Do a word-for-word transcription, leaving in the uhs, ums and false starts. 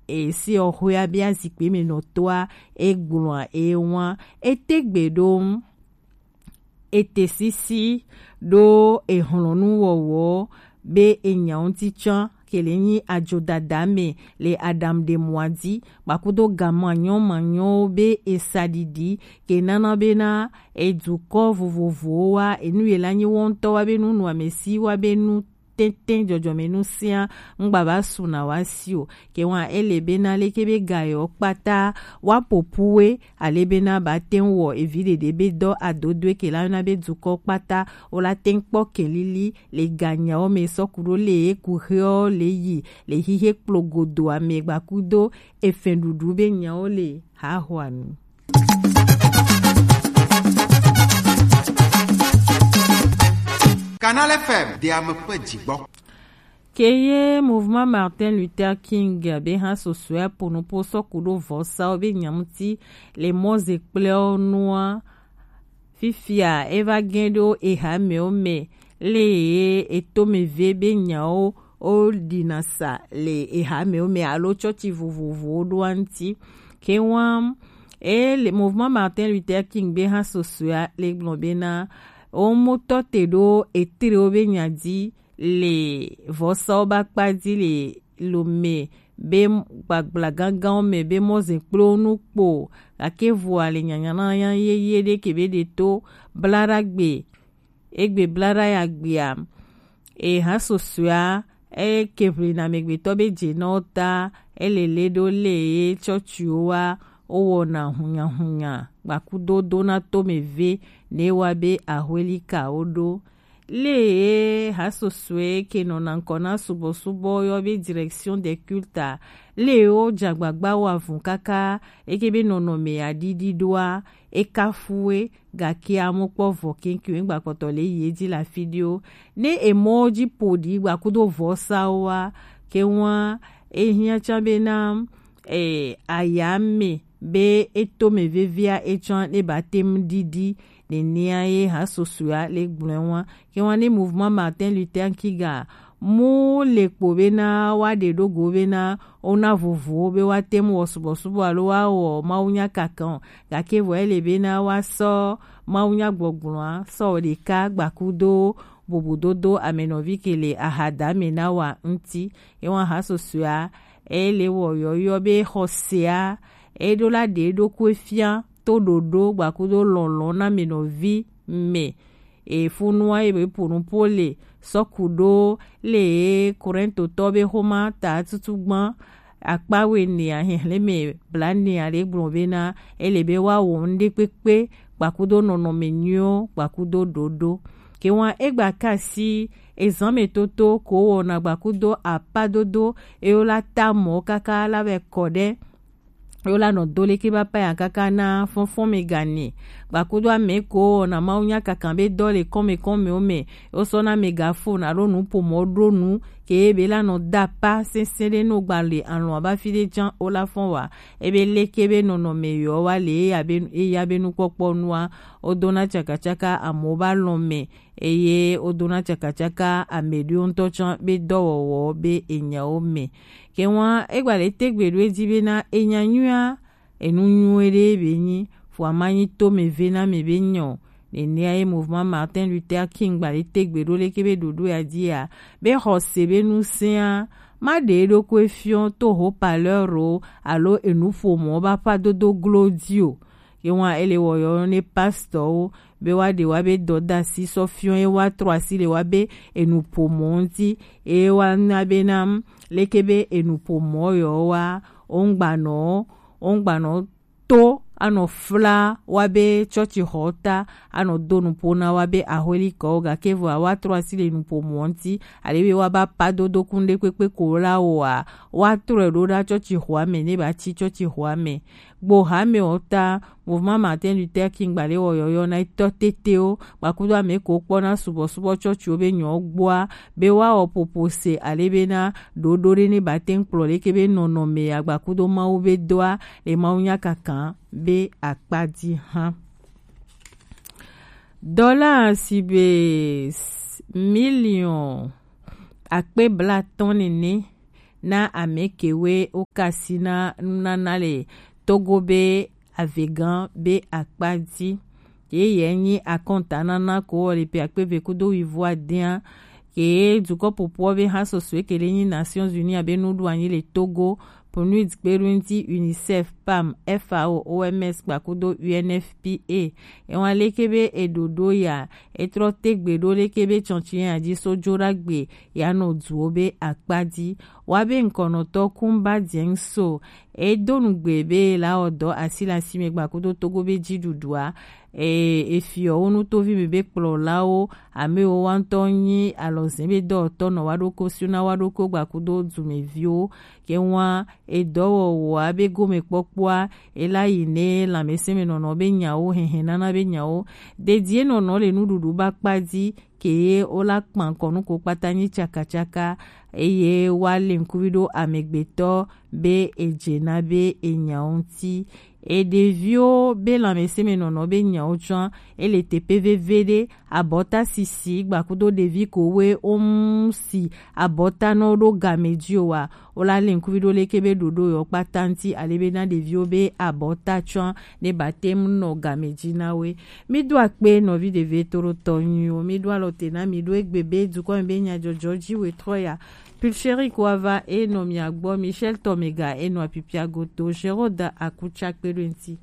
e si ɔ xwe a be azikpe mɛ nɔ to a, e gblɔ a e wan e te gbe ɖo ete sisi ɖo ehlɔnu wɔwɔ be enya ŋuti can ke le nyi ajodada mɛ le Adam de mɔa di, gbakudo ga manyɔ manyɔwo be esa ɖiɖi ke nana bena edukɔ vovovowo wa enu ye la nyi wɔntɔ wa be nu nu amesi wa be nu tɛntɛn jɔjɔmɛ nu sia ŋgba ba su na wa si o. Ke wan ele bena leke be ga yɔ kpata wa popu we ale bena ba tɛn wɔ evi ɖeɖe be dɔ adodoe ke la na be dukɔ kpata o la tɛn kpɔ kelili le ganyawo mɛ sɔku ɖo le eku xeɔ le yi le xixe kplogodo amɛ gbakudo efɛn ɖuɖu be nyawo le haxɔanu. Canal F M de ame ƒe dzigbɔ. Keye Mouvement Martin Luther King be hã sosoea ponopo sɔku ɖo vɔsawo be nyamuti le mɔze kple wo nua. Fifia eva gẽ ɖo ehamewo me le ye etome ve be nyawo wo ɖina sa le ehamewo me alo tsɔtsi vovovowo ɖoa ŋuti. Ke wan e le Mouvement Martin Luther King be hã sosoea le gblɔ bena wo motɔ te ɖo etrewo be nya di le vɔsawo be akpa di le Lome be gbagbla gãgãwo me be mɔze kple wo nu kpo gake vɔa le nyanyanya yeye ɖe ke be ɖe to blaɖagbe egbe blaɖa ya gbea e hã sosoea eke ʋli na amegbetɔ be dze nɔ ta ele le ɖo le ye tsɔtsiwo wa wo wɔna hunyahunya gbakudo dona tome ve ne wa be ahwelikawo ɖo. Le ye hasosoe ke nɔna ŋkɔ na subɔsubɔ yɔ be direction des cultes a, le wo dzagbagba wa vun kaka eke be nɔnɔme ya ɖiɖi ɖoa, e kafue gake amo kpɔ vɔ keŋkeŋ egba kpɔtɔ le yi edzi le afi ɖewo. Ne emɔwo dzi ƒo ɖi gbakudo vɔsawoa, ke ŋua ehiã tsã bena e, ayame be etome vevia etsɔa ne ba tem ɖiɖi nenea ye hasosoea le gblɔe wa. Ke wa ne Mouvement Martin Luther King a mu le kpo bena wa ɖe ɖo go bena wona vovowo be wa tem wɔ subɔsubɔ alo wa wɔ mawunya kakan o. Gake vɔ ele bena wa sɔ mawunya gbɔgblɔa sɔ wɔ ɖeka gbakudo bubudodo amenɔvi ke le ahadame na wa ŋuti. Ye wa hasosoea e le wɔ yɔyɔ be xɔsea e ɖo la ɖe ɖokui fia to ɖoɖo gbakudo lɔlɔ̃ na amenɔvi me. E funua ye be ƒo nu ƒo le sɔku ɖo le Korintotɔ be xoma ta tutu gbã akpa wene a xexlẽ me blanea ɖe gblɔ bena ele be wa wɔ nu ɖe kpekpe gbakudo nɔnɔme nyuiwo gbakudo ɖoɖo. Ke wa egba ka si ezan me toto ko wɔna gbakudo apadodo ewo la ta mɔ kaka la vɛ kɔ ɖe ewo la nɔ do leke ba paya kaka na fɔnfɔn me gane gbakudo ame ko wɔna mawunya kakan be dɔ le kɔme kɔmewo me wo sɔ na megafon alo nuƒomɔ ɖo nu ke be la nɔ da pa sɛsɛ ɖe no gba le alɔn aba fi ɖe jan wo la fɔn wa ebe leke be nɔnɔme yɔ wa le eya be eya be nukpɔkpɔ nua wo dona tsakatsaka amewo ba lɔn me eye wodona tsakatsaka ame ɖewo ŋutɔ tsã be dɔwɔwɔ be enyawo me. Ke ŋua egba le tegbe ɖo edzi bena enya nyuia enu nyuie ɖe be nyi fua ma nyi tome ve na mi be nyɔ. Nenea ye Mouvement Martin Luther King gba le tegbe ɖo leke be ɖoɖo ya dzia be xɔse be ŋusẽa ma ɖe eɖokui fiɔ to haut-parleur o alo enuƒomɔ be aƒadodo glo dzi o. Ye ŋua ele wɔ yɔ ne pastorwo be woaɖe woabe dɔdeasi sɔ fiɔ ye woatrɔ asi le woabe enuƒomɔ ŋuti eye woana bena leke be enuƒomɔ yɔ wa wongbanɔ wongbanɔ to anɔ fla woabe tsɔtsixɔ ta anɔ do nuƒo na woabe axwelikɔwo gake vɔa woatrɔ asi le nuƒomɔ ŋuti ale be woaba padodo kun ɖe kpekpe ko la wɔa woatrɔe ɖo ɖa tsɔtsixɔa me ne ba tsi tsɔtsixɔa me. Gbo hamɛwo ta, Mouvement Martin Luther King gbalɛ wɔ yɔyɔ na etɔ tetewo kpakudo ame kewo kpɔna subɔsubɔ tsɔtsiwo be nyɔ gbɔa be woawɔ popo se ale bena ɖoɖo ɖe ne ba te ŋu kplɔ leke be nɔnɔme agbakudo Mawu be doa le Mawu nya kakã be akpa dzi hã. Dɔla si be s- miliɔn akpe blatɔ̃ nene na ame kewe wo kasi na nunana le Togo be avegã be akpa ji. Ye ye nyi akɔnta nana ko wɔ le pe akpe ve kudo wivo adea. Ke dukɔ popo be ha soso ke le nyi Nations Unies abe nuɖu anyi le Togo, PNUD kpe ɖo ŋuti, UNICEF, PAM, FAO, OMS kpakudo UNFPA. Ewa leke be eɖoɖo ya, etrɔ tegbe ɖo leke be tsɔntsi ya ji so jo ɖagbe ya nɔ duwo be akpa ji. Wa be ŋkɔnɔtɔ Kumba Dieng So, edo nugbe be la ɔdɔ asi le asi me gbakudo Togo be ji ɖuɖua. E, efiɔ wo nutovi me be kplɔlawo, ame wo wa ŋutɔ nyi alɔzɛ be dɔwɔtɔ nɔ wa ɖoko sio na wa ɖoko gbakudo dumeviwo. Ke wa edɔwɔwɔa be gome kpɔkpɔa, ela yi ne lãmesẽmenɔnɔ be nyawo, hɛhɛnana be nyawo, dedie nɔnɔ le nuɖuɖu ba kpa ji, ke ye wo la kpan kɔnu ko kpata nyi tsakatsaka, eye wa le ŋkuvi ɖo amegbetɔ be edze na be enyawo ŋuti. E ɖeviwo be lãmesẽmenɔnɔ be nyawo tsɔa, ele teƒe vevi ɖe, abɔta sisi gbakudo ɖevi ko we wo mu si abɔta nɔ ɖo game ji o wa, wo la le ŋkuvi ɖo leke be ɖoɖo yɔ kpata ŋuti ale be na ɖeviwo be abɔta tsɔa ne ba te mu nɔ game ji na we. Mi do akpe nɔvi ɖevi to ɖo tɔ nyuiwo, mi do alɔ te na mi ɖo egbe be dukɔ mi be nyadzɔdzɔ ji we trɔ ya. Pulchérie ko ava enɔ mia gbɔ, Michel Tomega enɔ apipia goto, Géraud Akutsa kpe ɖo ŋuti.